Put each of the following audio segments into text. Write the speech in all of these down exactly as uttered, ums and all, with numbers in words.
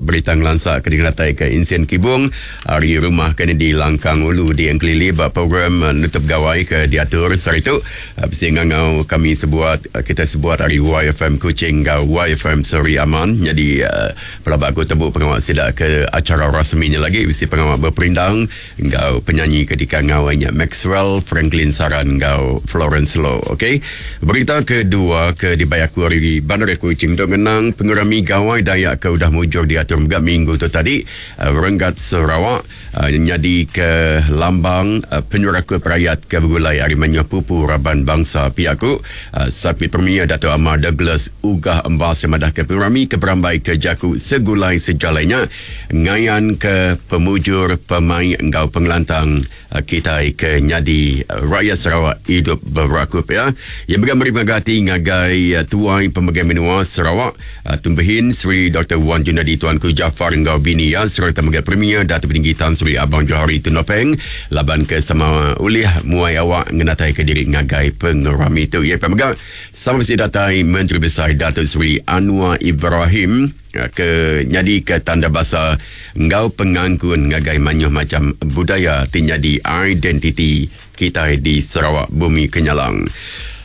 Berita ngelansa ke dikenatai ke Insin Kibung hari rumah ke di Langkang Ulu di Engkelili ba program nutup gawai ke diatur sehari tu. Bisi ngangau kami sebuat, kita sebuat hari Y F M Kuching ngau Y F M Seri Aman. Jadi uh, pelabak aku tebuk pengawal sida ke acara rasminya lagi bisi pengawal berperindang ngau penyanyi ketika ngawainya Maxwell Franklin Saran ngau Florence Low. Okey. Berita kedua ke dibayar aku hari Bandar Kuching untuk mengenang pengerami Gawai Dayak ke udah mujur diatur megak minggu tu tadi uh, renggat Sarawak uh, jadi ke lambang uh, penyeraku rakyat ke bergulai hari Manyuh Pupu Raban Bangsa Piaku uh, Sapi Premier Dato' Amar Douglas Uggah Embas yang madah ke pengerami ke berambai ke jaku segulai sejalainya ngayan ke pemujur pemain engkau pengelantang uh, kita ke nyadi uh, rakyat Sarawak hidup berakup ya. Yang bergambar beri ngagai uh, tuai pemegang menua Sarawak uh, Tumbehin Sri Doktor Wan Junadi Tuanku Jaafar Enggau Bini ya serta megai Premier Datuk Tinggi Tan Sri Abang Johari Tun Openg laban ke sama ulih muai awak ngenatai ke diri ngagai pengerami tu ya pemegang sama mesti datai Menteri Besar Datuk Sri Anwar Ibrahim ke nyadi ke tanda basa enggau pengangkun ngagai manyuh macam budaya ti nyadi identiti kita di Sarawak Bumi Kenyalang.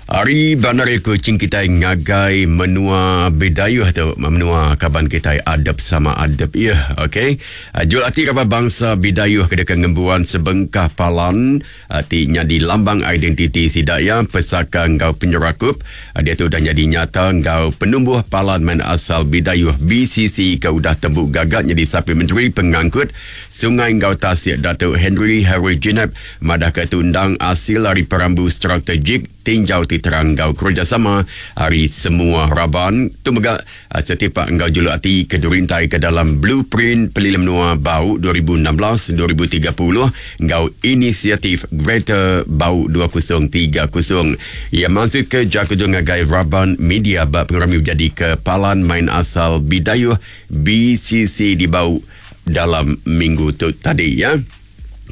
Hari Bandar Kuching kita ngagai menua Bidayuh tu, menua kaban kita adab sama adab ya, okey. Jual ati kaban bangsa Bidayuh ke dekat ngembuan sebengkah palan ti nyadi lambang identiti sidaya pesaka enggau penyerakup. Dia tu dah jadi nyata enggau penumbuh palan main asal Bidayuh B C C ke udah tembuk gagak jadi sapi menteri pengangkut Sungai Enggau Tasik Datuk Henry Harry Jinep madah ke tundang hasil hari perambu strategik tinjau ti terang enggau kerjasama hari semua raban tu mega setipak enggau juluk ati ke dirintai ke dalam blueprint Pelilih Menua Bau dua ribu enam belas dua ribu tiga puluh enggau inisiatif Greater Bau dua ribu tiga puluh. Ia masuk ke jaku ngagai raban media bab pengerami menjadi ke Palan Main Asal Bidayuh B C C di Bau dalam minggu tu tadi ya.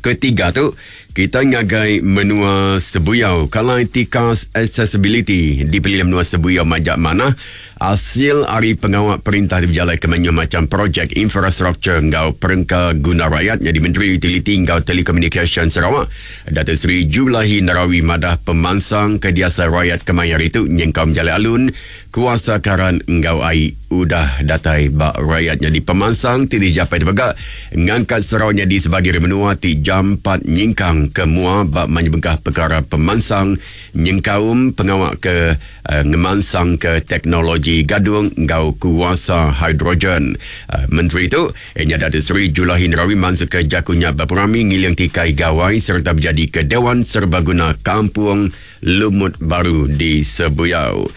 Ketiga tu kita ngagai menua Sebuyau kalai tikas accessibility di Pelilih Menua Sebuyau majak mana hasil hari pengawal perintah diberjalai ke menu macam projek infrastruktur enggau perengka guna rakyat jadi Menteri Utiliti enggau Telekomunikasi Sarawak Datuk Seri Julaihi Narawi madah pemansang kediasa rakyat kemayar itu nyengkau menjalai alun kuasa karan enggau ai udah datai bak rakyat jadi pemansang ti dijapai dibegak ngangkat Sarawak jadi sebagai menua ti jam empat nyingkang ke mua bak menyebengkah perkara pemansang nyengkaum pengawak ke uh, ngemansang ke teknologi gadung enggau kuasa hidrogen. Uh, Menteri itu ianya Datuk Seri Julaihi Narawi masuk ke jakunya berperami ngiling tikai gawai serta berjadi ke Dewan Serbaguna Kampung Lumut Baru di Sebuyau.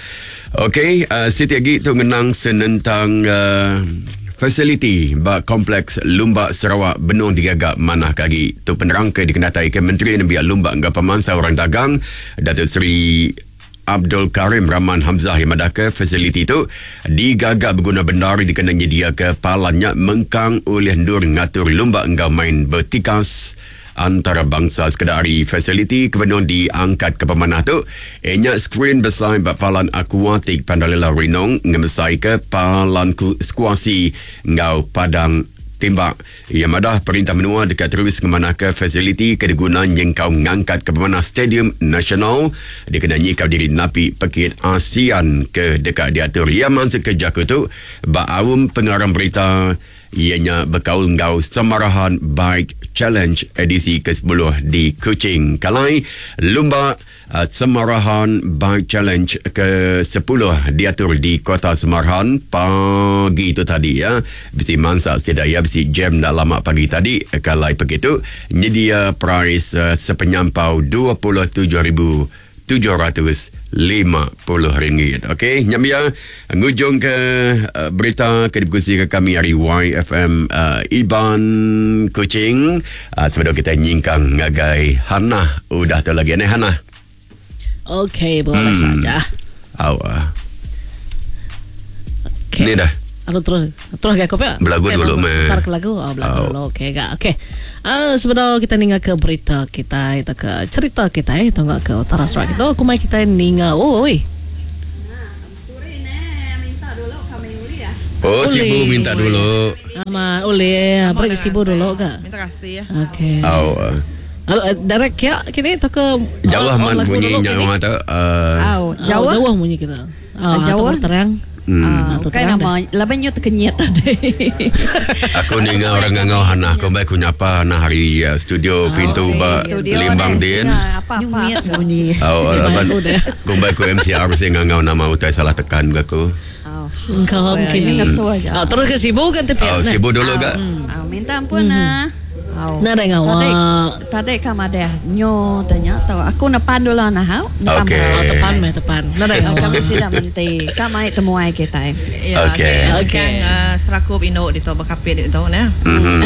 Okey, uh, Siti lagi tu ngenang senentang uh, fasiliti bak kompleks Lumba Sarawak benung digagak manah kagi. Tu penerang ke dikenatai ke Menteri Nembiak Lumba enggau Pemansang Orang Dagang Datuk Seri Abdul Karim Rahman Hamzah yang madah ke fasiliti tu digagak berguna benar dikena nyedia ke palannya mengkang oleh ndur ngatur lumba enggau main bertikas antarabangsa. Sekedar hari fasiliti kebenuan diangkat ke pemanah tu ianya skrin besar bak palan akuatik Pandalela Renong ngemesai ke palan skuasi enggau padang tembak. Ia madah perintah menua dekat terus ngemanah ke fasiliti kedeguna nyengkau ngangkat ke pemanah Stadium Nasional dikena nyikau diri napi pekit ASEAN ke dekat diatur. Ia masuk ke jaku tu bak awum pengarang berita ianya berkaul enggau Samarahan Bike Challenge edisi ke sepuluh di Kuching. Kalai lumba uh, Samarahan Bike Challenge ke sepuluh diatur di Kota Samarahan pagi itu tadi ya. Bisi mansa sedaya bisi jam dah lama pagi tadi. Kalai begitu nyedia prize uh, sepenyampau dua puluh tujuh ribu tujuh ratus lima puluh ringgit. Okey, nyam ya ngujung ke uh, berita ke dikongsi ke kami hari Y F M uh, Iban Kuching. Uh, sebelum kita nyingkang ngagai Hana, udah tu lagi ni Hana. Okey, boleh hmm. saja. Awak. Okey. Ni dah. Atau terus terus ke kopi? Belagu okay, dulu meh. Tar ke lagu. Oh, belagu oh. dulu. Okey, gak. Okey. Ah, uh, sebelum kita ninga ke berita kita itu ke cerita kita eh tunggu ke utara Sarawak itu aku mai kita ninga. Oi. Nah, sore ne minta dulu kami uli ya. Oh, Sibu minta dulu. Amat oleh, beri Sibu dulu ke? Minta kasih ya. Okey. Oh. Halo, direct kia kini atau ke jauh amat bunyi nyawa tu. Uh, jauh jauh bunyi kita. Uh, jauh terang. Hmm. Uh, bukan nama laban nyu terkenyit tadi. Aku ninga orang ngangau hana aku baik ku nyapa hana hari uh, studio pintu oh, ba Limbang din. Apa-apa bunyi. Oh, laban ku baik ku M C R mesti ngangau nama utai salah tekan ke aku. Engkau mungkin ah, terus ke Sibu kan tepi. Oh, Sibu dulu ke? Minta ampun ah. Oh. Nah, ada ngawa. Tadi kam ada nyo tanya tau. Aku nepan dulu nah hau. Okey. Oh, tepan meh tepan. Nah, ada ngawa. Kami sila menti. Kam ai temuai kita. Okey. Okey. Serakup induk di tu berkapit di tu nah. Mhm.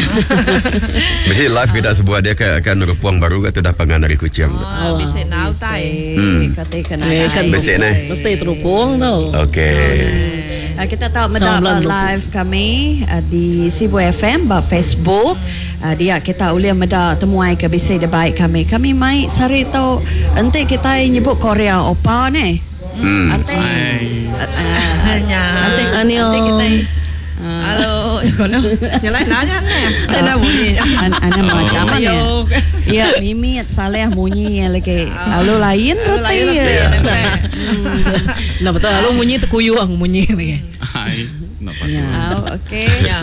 Mesti live kita sebuah dia ke akan rupuang baru ke tu dah pangan dari Kuching. Oh, bisi nau tai. Kata kena. Bisi neh. Mesti terupung tau. Okey. Kita tahu meda live kami uh, di Sibu F M ba Facebook. Uh, dia kita boleh meda temuai ke bisi debaik kami. Kami mai sari tu enti kita nyebut Korea opa ni. Hmm. Enti enti enti kita Halo, kono. Nyalai nanya ni. Ada bunyi. Ana macam mana? Ya, Mimi Saleh bunyi lagi. Lalu lain reti. Nah betul, lalu bunyi terkuyuang bunyi ni. Hai. Ya, okey. Ya.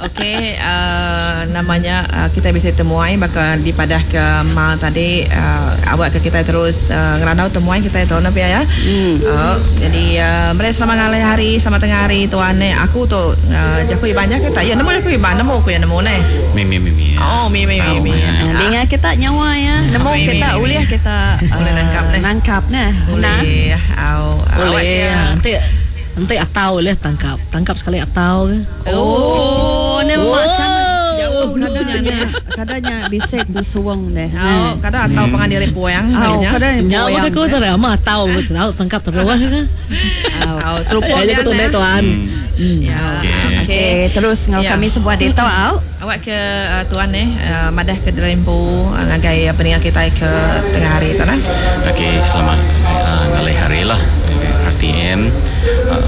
Okey, uh, namanya uh, kita bisa temuai bakal dipadah ke ma tadi uh, awak ke kita terus uh, ngerandau temuai kita itu nak ya. Hmm. Uh, jadi uh, mereka selama ngalih hari sama tengah hari tuan ni aku tu uh, jaku iban ke tak? Ya nemu jaku iban nemu aku yang nemu ni. Mimi mimi. Oh, mimi mimi. Dengar kita nyawa ya. Nemu kita uliah kita boleh nangkap ni. Nangkap nah. Boleh. Au. Boleh. Nanti nanti atau boleh tangkap. Tangkap sekali atau ke. Oh, ni macam jauh kadangnya kadangnya bisik busuang deh. Oh, kadang atau pangan diri puang. Oh, kadang nyawa aku tu dah mah atau betul tangkap terus ke. Oh, terupung dia tu tuan. Ya. Okey, terus ngau kami sebuah data au. Awak ke uh, tuan ni uh, madah ke Derempu uh, ngagai uh, peningat kita ke tengah hari tu nah. Okey, selamat uh, ngalih hari lah. R T M uh,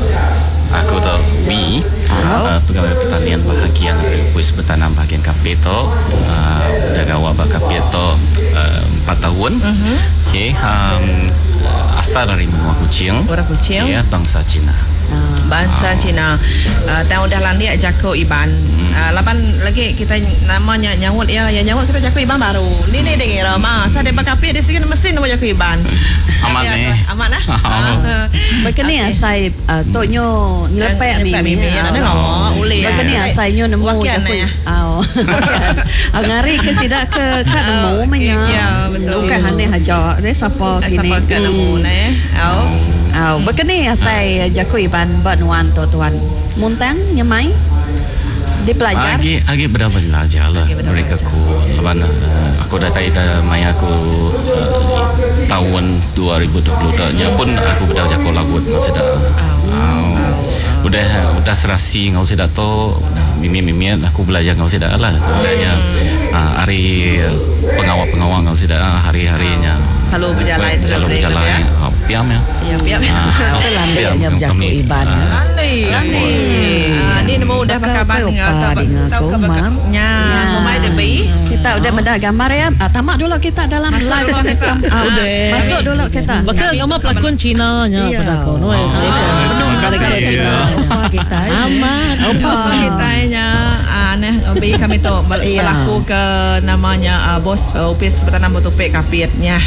aku tu W uh, pegawai pertanian bahagian Republik Bertanam bahagian Kapit tu uh, dah gawak bak Kapit tu uh, empat tahun. Uh-huh. Okey, um, asal dari menua Kuching. Orang Kuching. Okay, bangsa Cina. Bangsa oh. Cina. Uh, tahun dah landik jako Iban. Hmm. Uh, lapan lagi kita namanya nyawut ya, ya nyawut kita jako Iban baru. Ni ni dengar mah. Sa depa kapit di sini mesti nama jako Iban. Amat ni. Amat lah. Berkeni asai tok nyo nyelepek mi. Mi ya nak ngomong boleh. Berkeni asai nyo nemu jako. Au. Ngari ke sidak ke kat nemu menya. Ya betul. Bukan hane haja. Dia siapa kini. Siapa ke nemu ne. Au. Au, berkeni asai jako Iban buat nuan tu tuan. Muntang nyemai dipelajar. Agi agi benda belajar lah mereka ku. Laban uh, aku dah tahu dah maya aku uh, tahun dua ribu dua puluh dah nya pun aku benda jako lagut masih dah. Oh. Udah udah serasi ngau sedak tu mimi-mimi aku belajar ngau sedak lah. Udahnya uh, hari pengawal-pengawal ngau sedak hari-harinya. Selalu berjalan itu selalu berjalan. Ya. Piam ya. Ya piam. Itu landainya berjaku Iban. Landai. Landai. Ah ni nemu udah pakai abang tahu ke nya. Ngomai debi. Kita udah mendak gambar ya. Tamak dulu kita dalam live. Masuk dulu kita. Bakal gambar pelakon Cina nya pada kau. Terima kasih. Opa kita. Amat. Opa kita nya aneh obi kami tu berlaku ke namanya bos upis bertanam bertupik kapitnya.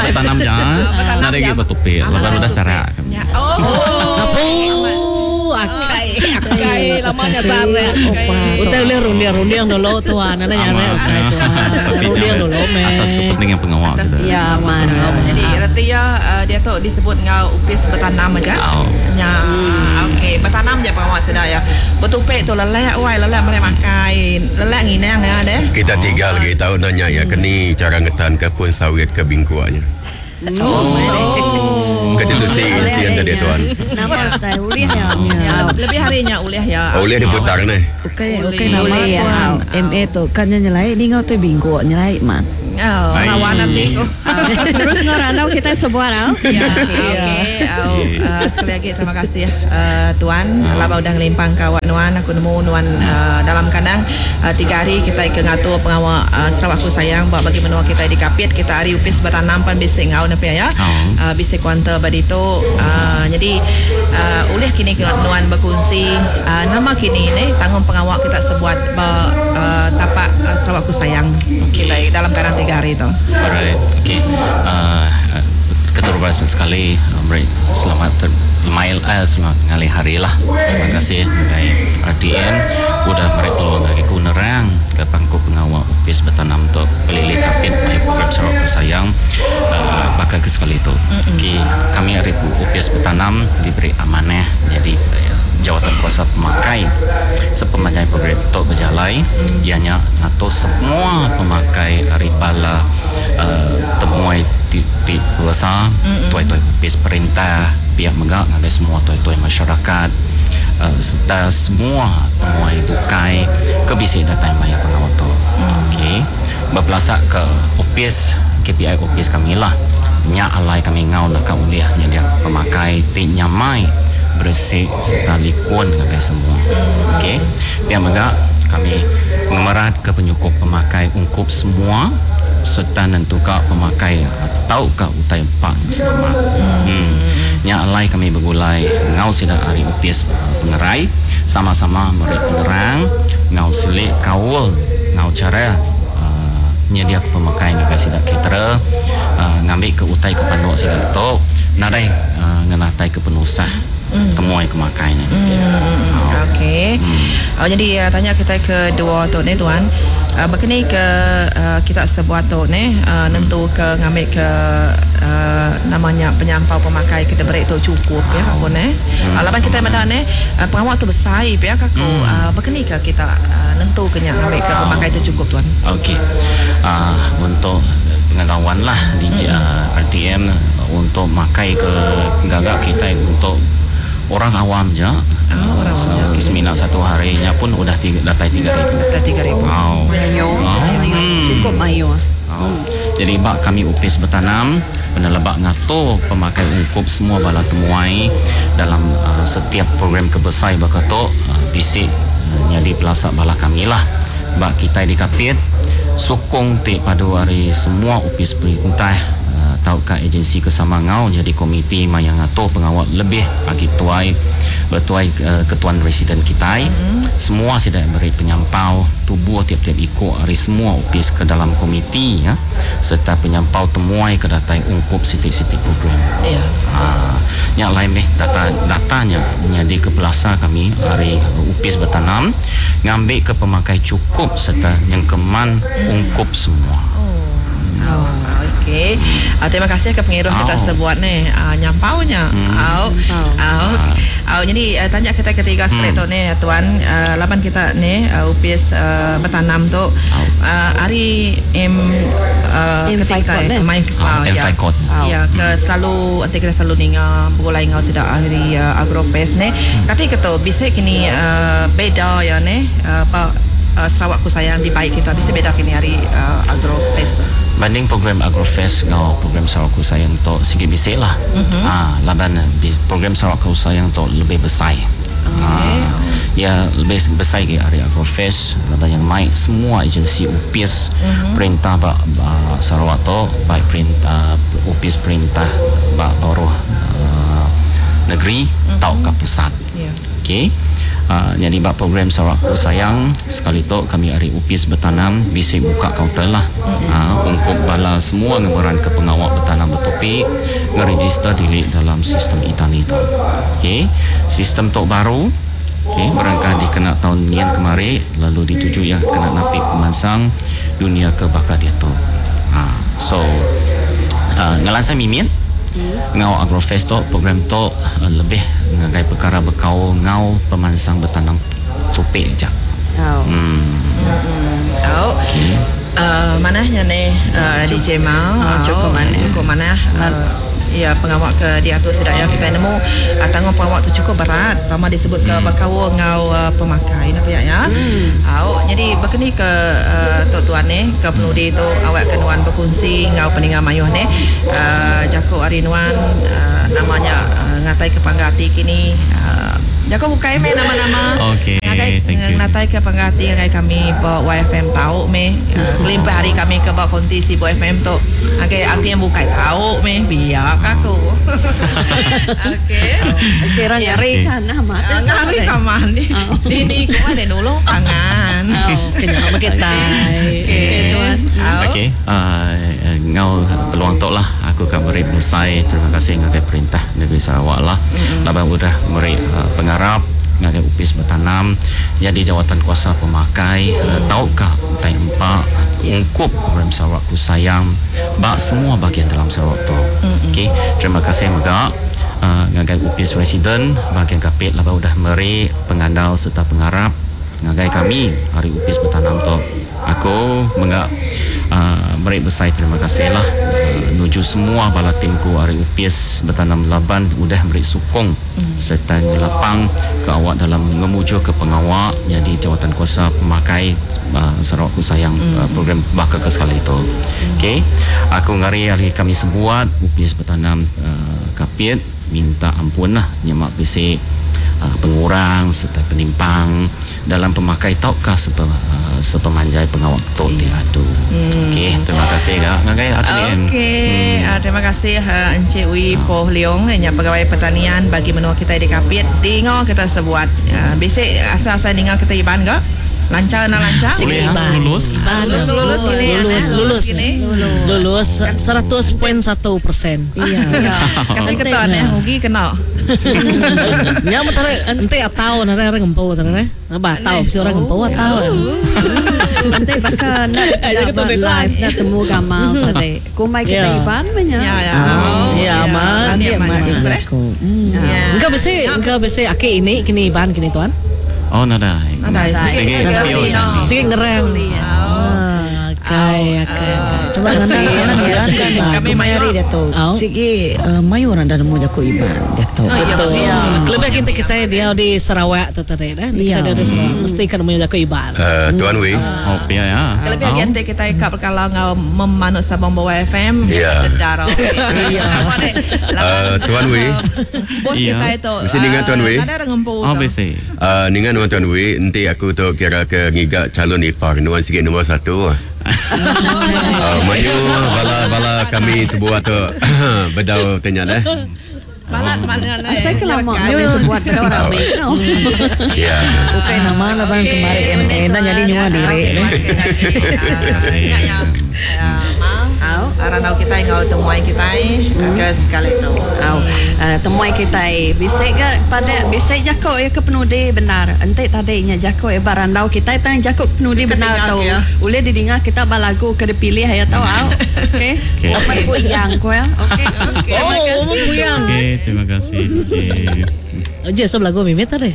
Bertanam jangan. Ada lagi bertupik. Lepas udah sarak. Oh, akai akai lamanya sarak. Utai boleh rundiang-rundiang dulu tuan. Nana nyare utai tuan. Rundiang dulu me. Atas kepentingan pengawal sudah. Ya man. Jadi reti ya dia tu disebut ngau upis bertanam aja. Ya. Okey, bertanam je pengawal sudah ya. Bertupik tu lelek wai lelek mereka makan. Lelek nginang ya deh. Kita tiga lagi tahu nanya ya keni cara ngetan ke pun sawit ke bingkuanya. Oh. Kata tu si sian tadi tuan. Nama tai ulih ya. Lebih harinya ulih ya. Ulih diputar ni. Okey, okey nama tuan M A tu kan nyelai ni ngau tu bingkuk nyelai man. Oh, lawan nanti. Terus ngarandau kita sebuah tau. Ya, okey. Au, uh, sekali lagi terima kasih uh, tuan. Laba udah ngelimpang ke awak nuan, aku nemu nuan uh, dalam kandang uh, tiga hari kita ke ngatur pengawak uh, Sarawakku Sayang buat bagi menua kita di Kapit. Kita hari upis bertanam pan bisik ngau nepi ya. Oh. Uh, bisik kuanta baditu. Uh, jadi uh, oleh kini ke nuan berkongsi uh, nama kini ni tanggung pengawak kita sebuat ba, uh, tapak uh, Sarawakku Sayang. Okey. Kita dalam kandang tiga hari tu. Alright, okay. Uh, keterubah sekali uh, beri selamat ter, mail eh, selamat ngalih hari lah. Terima kasih dari R T M udah beri peluang bagi ku nerang ke pangku pengawal Upis Bertanam untuk pelilih Kapit mai program Sarawakku Sayang uh, bakal ke sekali itu. Okey, kami hari Upis Bertanam diberi amanah jadi uh, jawatan kuasa pemakai sepemanjai program untuk berjalai mm. ianya atau semua pemakai hari bala uh, temuai ti, ti puasa tuai-tuai upis perintah pihak megak ngagai semua tuai-tuai masyarakat uh, serta semua temuai bukai ke bisik datang maya pengawal tu. Okey, berpelasak ke upis K P I upis kami lah nyak alai kami ngau nak uliah nyak dia pemakai ti nyamai bersih serta likun ngagai semua. Okey. Pihak megak kami mengemerat ke penyukup pemakai ungkup semua serta nentuka pemakai atau ke utai empat selamat. Hmm. Nyak alai kami bergulai ngau sida hari upis pengerai sama-sama merik penerang ngau selik kaul ngau cara uh, nyedia pemakai ngagai sida caterer uh, ngambil ke utai ke panduk sida tu nadai uh, ngenatai ke penusah mm. temuai kemakainya. Mm. Oh. Okey. Mm. Oh, jadi uh, tanya kita ke dua tu ni tuan. Uh, berkini ke uh, kita sebuah tu ni uh, nentu ke ngambil ke uh, namanya penyampau pemakai kita beri tu cukup ya pun eh. Mm. Uh, laban kita mana ni uh, pengawal tu besar ya aku mm. uh, berkini ke kita uh, nentu ke nya ngambil ke pemakai tu cukup tuan. Okey. Uh, untuk pengetahuan lah di mm. uh, R T M untuk makai ke gagak kita untuk orang awam je. Oh, orang awam. So, semina satu harinya pun udah tiga, datai tiga ribu. Datai tiga ribu. Wow. Mayo. Oh. Hmm. Cukup mayo. Oh. Hmm. Jadi bak kami upis bertanam penelebak ngatur pemakai ungkup semua bala temuai dalam uh, setiap program kebesai bakatok uh, bisik uh, nyadi pelasak bala kami lah. Bak kita di Kapit sokong tik padu hari semua upis perintah tau ka agensi kesama ngau jadi komiti mayang ngatur pengawal lebih bagi tuai bertuai uh, ketuan residen kita mm-hmm. semua sudah beri penyampau tubuh tiap-tiap ikut hari semua upis ke dalam komiti ya serta penyampau temuai ke datai ungkup sitik-sitik program ya yeah. Ha, yang lain ni data datanya jadi ke pelasa kami hari upis bertanam ngambil ke pemakai cukup serta yang keman ungkup semua. Oh. Okey. Uh, terima kasih ke pengiruh oh. kita sebuat ni uh, nyampaunya. Hmm. Au. Au. Au. Jadi uh, tanya kita ketiga sekali hmm. tu ni tuan uh, laban kita ni uh, upis uh, bertanam tu uh, hari M uh, ketika main oh, ya. Ya ke selalu nanti kita selalu ninga bergulai ngau sida hari uh, Agrofest ni. Hmm. Kati ketu bisa kini uh, beda ya ni uh, pa uh, Sarawakku Sayang di baik kita bisa beda kini hari uh, Agrofest tu. Banding program Agrofest ngau program Sarawakku Sayang tu sikit bisik lah. Mm-hmm. Ah, laban program Sarawakku Sayang tu lebih besar. Okay. Ah, ya lebih besar ke hari Agrofest laban yang mai semua agensi upis mm-hmm. perintah ba, ba Sarawak tu baik perintah upis perintah ba baruh uh, negeri mm-hmm. tau ke pusat. Yeah. Okey. Uh, jadi bab program Sarawakku Sayang sekali tu kami hari upis bertanam bisik buka kaunter lah. Mm-hmm. Uh, ungkup bala semua ngemeran ke pengawal bertanam bertopik ngeregister diri dalam sistem e-tani tu. Okey, sistem tok baru. Okey, berangkat dikena tahun nian kemari lalu dituju ya kena napi pemansang dunia ke bakal dia tu. Uh, so uh, ngelansai mimit hmm. Ngau Agrofest tu program tu uh, lebih ngagai perkara bekau ngau pemansang bertanam topik je. Oh. Hmm. Oh. Okey. Uh, manahnya ni uh, D J Mau. Oh, cukup mana? Cukup mana? Uh, Ya pengawak ke diatur sidak ya kita nemu uh, tanggung pengawak tu cukup berat. Pama disebut ke hmm. berkaul ngau uh, pemakai nak ya ya. Hmm. Au jadi berkeni ke uh, tok tuan ni ke penudi tu awak ke nuan berkongsi ngau peninga mayuh ni uh, jako hari nuan uh, namanya uh, ngatai ke panggati kini uh, jako bukai me nama-nama. Okey, thank you. Ngatai ke panggati ngagai kami ba Y F M tau me. Kelimpah hari kami ke ba konti si Y F M tu. Okey, arti yang bukai tau me biar aku. Okey. Kira ngari kan nama. Ngari kaman ni. Ini ku ada dulu pangan. Oh, kena kita. Okey, tuan. Okey, ngau peluang tok lah aku akan beri besai terima kasih ngagai perintah negeri Sarawak lah. Laban udah beri pengarap ngagai upis bertanam jadi jawatan kuasa pemakai hmm. Taukah utai empat ungkup program Sarawak ku sayang bak semua bahagian dalam Sarawak tu. Okey, terima kasih mega uh, ngagai upis residen bahagian Kapit laban udah meri pengandal serta pengarap ngagai kami hari upis bertanam tu. Aku menga uh, meri besai terima kasih lah uh, nuju semua bala timku hari upis bertanam laban udah beri sokong mm. serta lapang ke awak dalam ngemuju ke pengawak jadi jawatan kuasa pemakai uh, Sarawak ku sayang mm. uh, program bakal ke sekali itu. Mm. Okey, aku ngari hari kami sebuat upis bertanam uh, Kapit minta ampun lah nyemak P C uh, pengurang serta penimpang dalam pemakai taukah sepe, uh, sepemanjai pengawak tu diadu. Hmm. Okey, terima kasih kak. Ngagai R T D N. Okey, hmm. uh, terima kasih uh, Encik Wee Poh Leong yang pegawai pertanian bagi menua kita di Kapit. Dengar kita sebuat. Uh, basic asal-asal dengar kita iban ke? Lancar nak lancar? Boleh ha? Lulus. Lulus lulus gini. Lulus lulus. Lulus seratus koma satu persen. Iya. Kata ketua ni rugi kena. Ya mentare ente atau nare orang ngempu tare. Ba tahu si orang ngempu atau. Ente bakal nak live nak temu gamal tadi. Kumai kita iban banyak. Ya ya. Ya aman. Ya aman. Engkau besi engkau besi aki ini kini iban kini tuan. Oh, nadai. Nadai. Sige, sige ngereng. Okey, okey. Terima kasih. Kami mayari dia tu. Sige, mayu orang dah nemu jaku iban dia tu. Betul. Lebih kita kita dia di Sarawak tu tadi dah. Kita dia di Sarawak mesti kan nemu jaku iban. Tuan Wee. Oh, ya ya. Lebih kita kita kap kalau ngau memanut sabang bawa F M. Ya. Iya. Tuan Wee. Bos kita itu. Mesti dengar Tuan Wee. Ada orang ngempu. Oh, mesti. Dengan Tuan Wee, nanti aku tu kira ke ngigak calon ipar nuan sikit nombor satu. Uh, mayu bala-bala kami sebuah tu bedau tanya dah. Balat mana lah. Saya kelama kami sebuat pada orang ramai. Ya. Bukan nama lah bang kemarin M N dan jadi nyua diri. Ya ya. Au, arang kita ngau temuai kita ke sekali tu. Au, temuai kita bisa ke pada bisa jako ya ke penudi benar. Ente tadinya jako ya barandau kita tang jako penudi benar tu. Boleh didengar kita balagu ke dipilih ya tau au. Okey. Apa puyang ko ya. Okey. Okey. Oh, puyang. Okey, terima kasih. Okey. Oh, je sob lagu mimit tadi.